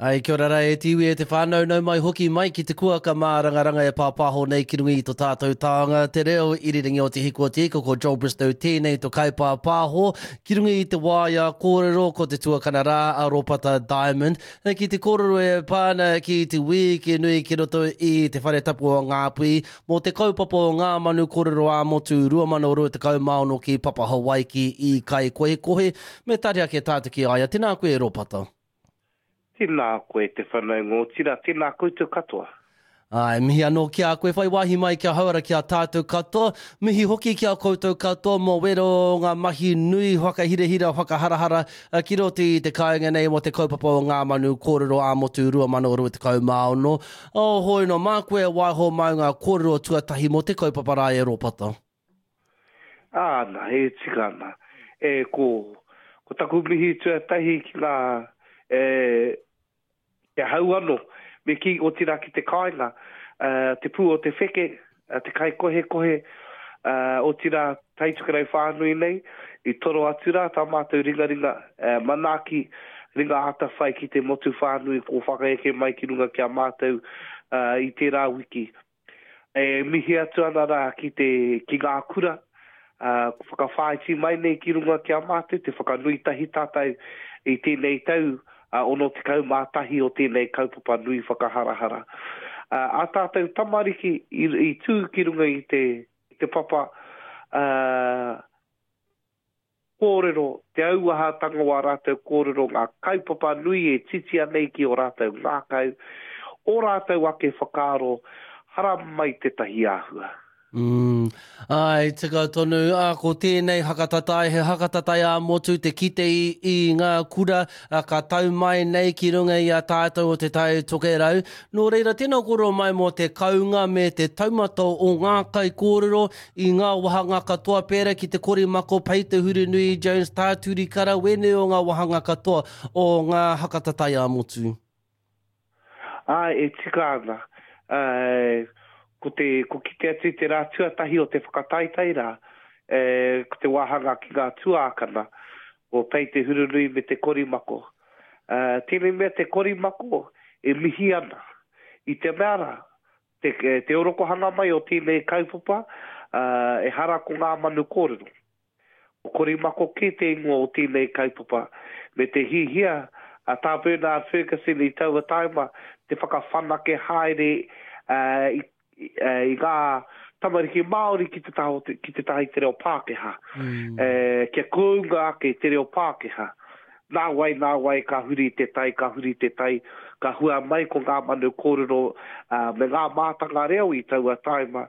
Ai, kia ora rā e te iwi e te whānau, nau mai hoki mai ki te kuaka mārangaranga e pāpāho nei ki runga i to tātou taonga, te reo irirangi o Te Hiku o Te Ika, ko Joel Bristow tēnei to kaipāpāho ki runga i te waea kōrero ko te tuakana rā a Ropata Diamond ki te kōrero e pā ana ki te wīki nui ki roto i te whare tapu o Ngāpuhi mō te kaupapa o Ngā Manu Kōrero ā-Motu 2026 ki Papa Hawaiki i Kaikohekohe me tari ake tātou ki a ia. Tēnā koe e Ropata. Tēnā koe te whanaunga otirā tēnā koutou katoa. Āe, mihi anō ki a koe, whai wāhi mai kia hauora ki a tātou katoa. Mihi hoki ki a koutou katoa mō wera o ngā mahi nui whakahirahira, whakaharahara ki roto i te kāinga nei mō te kaupapa o Ngā Manu Kōrero ā-Motu 2026. Oh, hoi no, mā koe e waiho mau ngā kōrero tuatahi mō te kaupapa rā e Ropata. Āna, e tika ana. E, ko, ko taku mihi tuatahi ki ngā, e, Ki ahau anō, me kī, otirā ki te kāinga, te pū o te wheke, te kaikohekohe, otirā Taitokerau whānui nei, i toro atu rā tā mātou ringaringa manaaki, ringa atawhai ki te motu whānui kua whakaeke mai ki runga ki a mātou i tērā wiki. E mihi atu ana rā ki te, ki ngā kura, ā, kua whakawhāiti mai nei ki runga ki a mātou te whakanui tahi tātou i tēnei tau 61 o tēnei kaupapa nui whakaharahara. Ā, ā tātou tamariki i, i tū ki runga i te, i te papa, ā, kōrero, te auahatanga o ā rātou kōrero, ngā kaupapa nui e titia nei ki ō rātou ngākau, ō rātou ake whakaaro, haramai tētahi āhua. Mm, āe, tika tonu, ā, ko tēnei hakatatai, he hakatatai ā-motu te kite i, i ngā kura ā, ka tau mai nei ki runga i a tātou o Te Tai Tokerau. Nō reira, tēnā kōrero mai mō te kounga me te taumata o ngā kaikōrero I ngā wāhanga katoa pērā ki te Korimako, Pei Te Hurinui, Jones, Tā Turi Kara, wēnei o ngā wāhanga katoa o ngā haka tatai ā-motu. Āe, e tika ana. Āe, ko te, ko kite atu i te rā tuatahi o te whakataetae rā, e, ko te wāhanga ki ngā tuākana, o Pei Te Hurunui me te Korimako. Ā, tēnei mea te Korimako e mihi ana i te mea rā, Te, te orokohanga mai o tēnei kaupapa, ehara ko ngā manu kōrero. Ko Korimako kē te ingoa o tēnei kaupapa, me te hihia a Tā Bernard Fergusson i taua taima te whakawhanake haere i, i ngā tamariki Māori ki te taha, ki te taha i te reo Pākehā. Mm. Kia kounga ake te reo Pākehā. Nāwai, nāwai, ka huri te tai, ka huri te tai, ka hua mai ko ngā manu kōrero me ngā mātanga reo i taua tāima,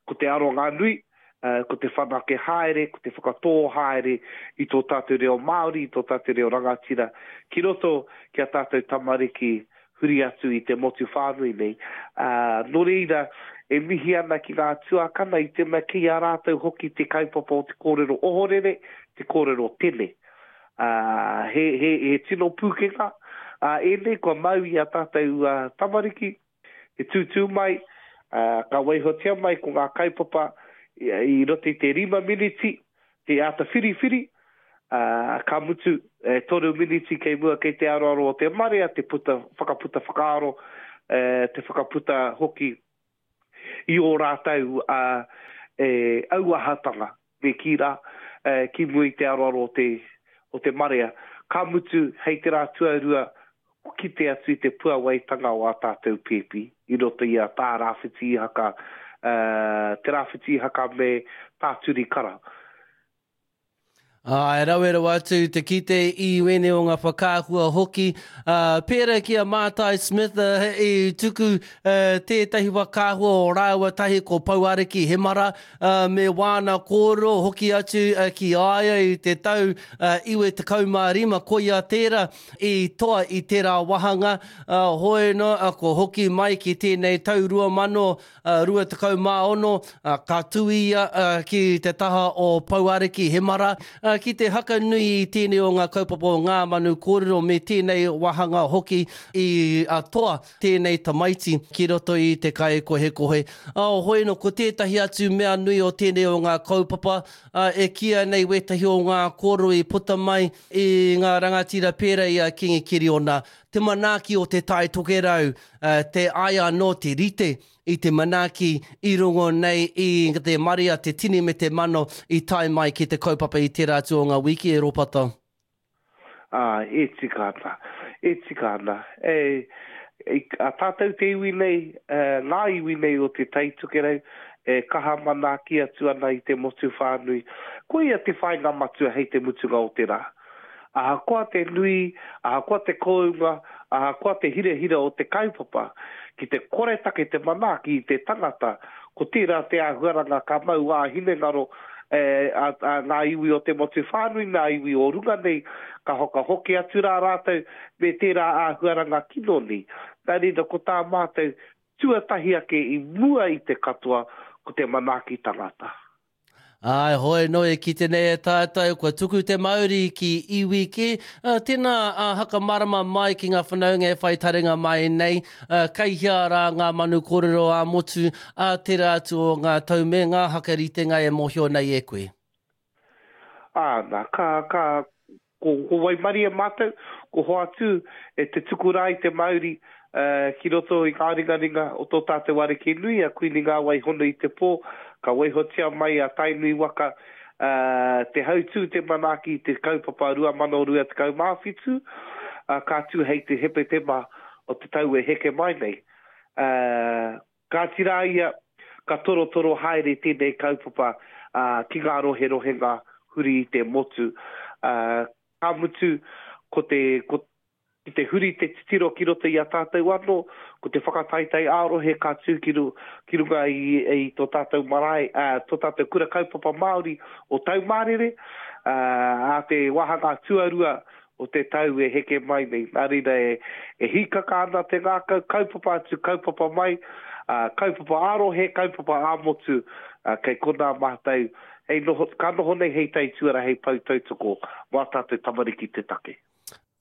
ko te aronga nui, ko te whanake haere, ko te whakatō haere i tō tātou reo Māori, i tō tātou reo rangatira ki roto ki a tātou tamariki huri atu i te motu whānui nei. Ā, nō reira, e mihi ana ki ngā tuakana i te mea kei a rātou hoki te kaupapa o te kōrero ohorere, te kōrero tene. Ā, he, he, he tino pūkenga, ā, ēnei kua mau i a tātou tamariki, te tūtū mai, ā, ka waihotia mai ko ngā kaupapa i, i roto i te rima miniti, te āta whiriwhiri, ā, ka mutu, e toru miniti kei mua kei te aroaro o te marea te puta, whakaputa whakaaro, e, te whakaputa hoki i ō rātou, ā, e, auahatanga, me kī rā, e, ki mua i te aroaro o te, o te marea. Ka mutu, hei te rā tuarua, kite atu i te puawaitanga o ā tātou pēpi i roto i a Tā Rāwhiti Ihaka, Te Rāwhiti Ihaka me Tā Turi Kara. Āe, rawe rawa atu te kite i wēnei o ngā whakaahua hoki. Ā, pērā ki a Mātai Smith i tuku tētahi whakaahua o rāua tahi ko Pouariki Hemara me wāna kōrero hoki atu ki a ia i te tau 95, koia tērā. I toa i tērā wāhanga, hoi nō, kua hoki mai ki tēnei tau 2026, ka tū ia ki te taha o Pouariki Hemara, ki te hakanui i tēnei o ngā kaupapa o Ngā Manu Kōrero me tēnei wāhanga hoki i toa tēnei tamaiti ki roto i te kaikohekohe. Hoi nō, ko tētahi atu mea nui o tēnei o ngā kaupapa, e kīia nei wētahi o ngā kōrero i puta mai, I ngā rangatira pērā i a Kingi Kiriona. te manaaki o Te Tai Tokerau, te ai anō te rite i te manaaki i rongo nei i te marea, te tini me te mano i tae mai ki te kaupapa i tērā atu o ngā wiki e Ropata. Ā, e tika ana, e tika ana. E, a tātou te iwi nei, ngā iwi nei o Te Tai Tokerau, e kaha manaaki atu ana i te motu whānui. Koia te whāinga matua hei te mutunga o te rā. Ahakoa te nui, ahakoa te kōunga, ahakoa te hirahira o te kaupapa, ki te koretake te manaaki i te tangata, ko tērā te āhuaranga ka mau ā-hinengaro a ngā iwi o te motu whānui, ngā iwi o runga nei, ka whakahoki atu rā rātou me tērā āhuaranga kino nei. Nā reira, ko tā mātou tuatahi ake i mua i te katoa, ko te manaaki tangata. Āe, hoi nō e kite nei e tātou, kua tuku te mauri ki iwi kē. Tēnā, whakamarama mai ki ngā whanaunga e whai taringa mai nei, kei hea rā ngā manu kōrero ā-motu, ā tērā atu o ngā tau me ngā hakaritenga e mōhio nei e koe? Āna, ka, ka, Ko, ko waimarie mātou, ko hoatu e te tuku rā i te mauri ki roto i ngā ringaringa o tō tātou Ariki nui, a Kuini Ngāwai Hono i te Pō, ka waihotia mai a Tainui waka te hautū, te manaaki i te kaupapa 2027, ka tū hei te Hepetema o te tau e heke mai nei. Kāti rā ia, ka torotoro haere tēnei kaupapa ki ngā roherohenga huri i te motu. Ka mutu, ko te, ko, ki te huri te titiro ki roto i a tātou anō, ko te whakataetae ā-rohe ka tū ki, ru, ki runga i, i tō tātou marae, ā, tō tātou kura kaupapa Māori o Taumārere, ā, ā te wāhanga tuarua o te tau e heke mai nei. Nā reira e, e hīkaka ana te ngākau, kaupapa atu, kaupapa mai, ā, kaupapa ā-rohe, kaupapa ā-motu, ā, kei konā mātou, hei noho, ka noho nei hei taituara, hei pou tautoko mō ā tātou tamariki te take.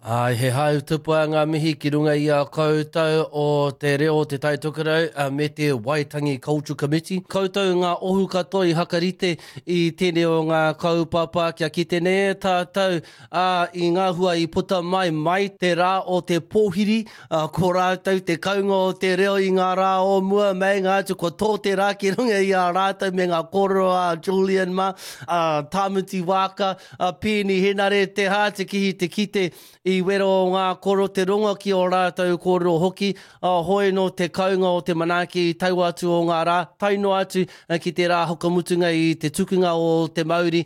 Āe, he hau tupua ngā mihi ki runga i a koutou o Te Reo o Te Tai Tokerau me te Waitangi Cultural Committee. Koutou ngā ohu katoa i hakarite i tēnei o ngā kaupapa kia kite nei e tātou ā, i ngā hua i puta mai, mai te rā o te pōhiri, ā, ko rātou te kaunga o te reo i ngā rā o mua, meinga atu kua tō te rā ki runga i a rātou me ngā kōrero a Julian mā, a Tāmati Waaka, a Peeni Henare, Te Hātekihi te kite i wero o ngā koro, te rongo ki ō rātou kōrero hoki, ā, hoi nō te kaunga o te manaaki i taua atu o ngā rā, tae noa atu ki te rā whakamutunga i te tukunga o te mauri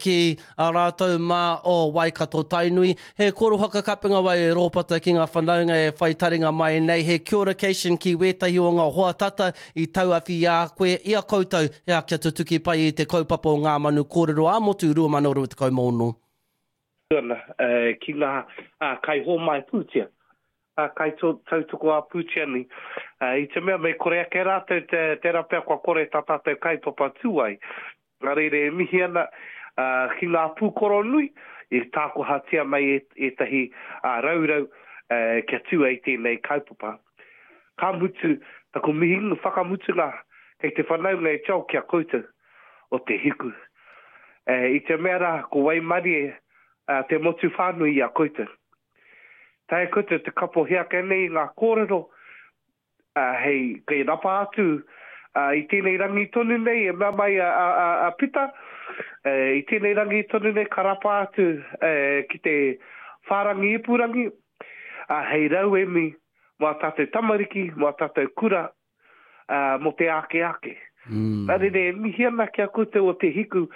ki a rātou mā o Waikato Tainui. He korohaka kapenga wai e Rōpata ki ngā whanaunga e whai taringa mai nei, he kia ora-cation ki wētahi o ngā hoa tata i tauawhi i a koe, i a koutou, ea kia tutuki pai i te kaupapa o Ngā Manu Kōrero ā-Motu 2026. Ana ki ngā kaihōmai pūtea, kaitautoko ā-pūtea nei. I te mea me kore ake rātou, tērā pea kua kore tā tātou kaupapa tū ai. Nā reira e mihi ana ki ngā pūkoro nui i tākohatia mai ētahi raurau kia tū ai tēnei kaupapa. Ka mutu taku mihi whakamutunga kei te whanaunga e Joel ki a koutou o te hiku. I te mea rā ko waimarie te motu whānui i a koutou. Taea koutou te kapohi ake nei i ngā kōrero hei kei rapa atu i tēnei rangi tonu nei e mea mai a Pita, i tēnei rangi tonu nei ka rapa atu ki te whārangi ipurangi hei rauemi mō ā tātou tamariki, mō ā tātou kura, ā, mō te ake ake. Nā reira, e mihi ana ki a koutou o Te Hiku,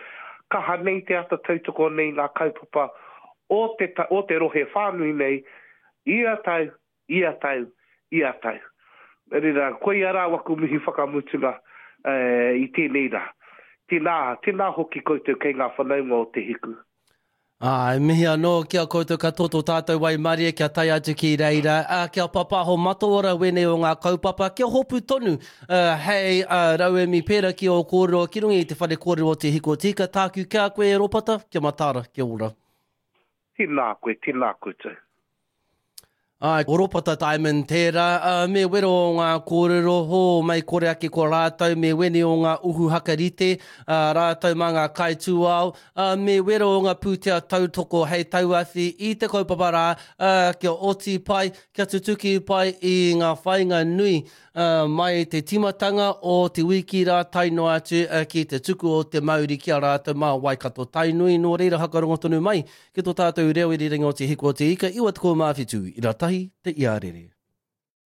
kaha nei te ata tautoko nei ngā kaupapa o te, o te rohe whānui nei, ia tau, ia tau, ia tau. Nā reira, koia rā waku mihi whakamutunga i tēnei rā. Tēnā, tēnā hoki koutou kei ngā whanaunga o Te Hiku. Ā, e mihi anō ki a koutou katoa tō tātou waimarie kia tae atu ki reira, ā, kia papaho mataora wēnei o ngā kaupapa, kia hopu tonu, ā, hei, ā, rauemi pērā ki ō kōrero ki runga i te whare kōrero o Te Hiko Tika, tāku ki a koe e Ropata, kia mataara, kia ora. Tēnā koe, tēnā koutou. Āe, ko Ropata Diamond tērā, ā, me wero o ngā kōrero, hō, mei kore ake ko rātou, me weni o ngā uhu hakarite, ā, rātou mā ngā kaitūao, ā, me wero o ngā pūtea tautoko hei tauawhi i te kaupapa rā, ā, kia oti pai, kia tutuki pai i ngā whāinga nui, ā, mai te tīmatanga o te wiki rā tae noa atu ki te tuku o te mauri ki a rātou mā Waikato Tainui, nō reira whakarongo tonu mai Ki tō tātou reo irirangi o Te Hiku o Te Ika 97 ira tahi te iarere.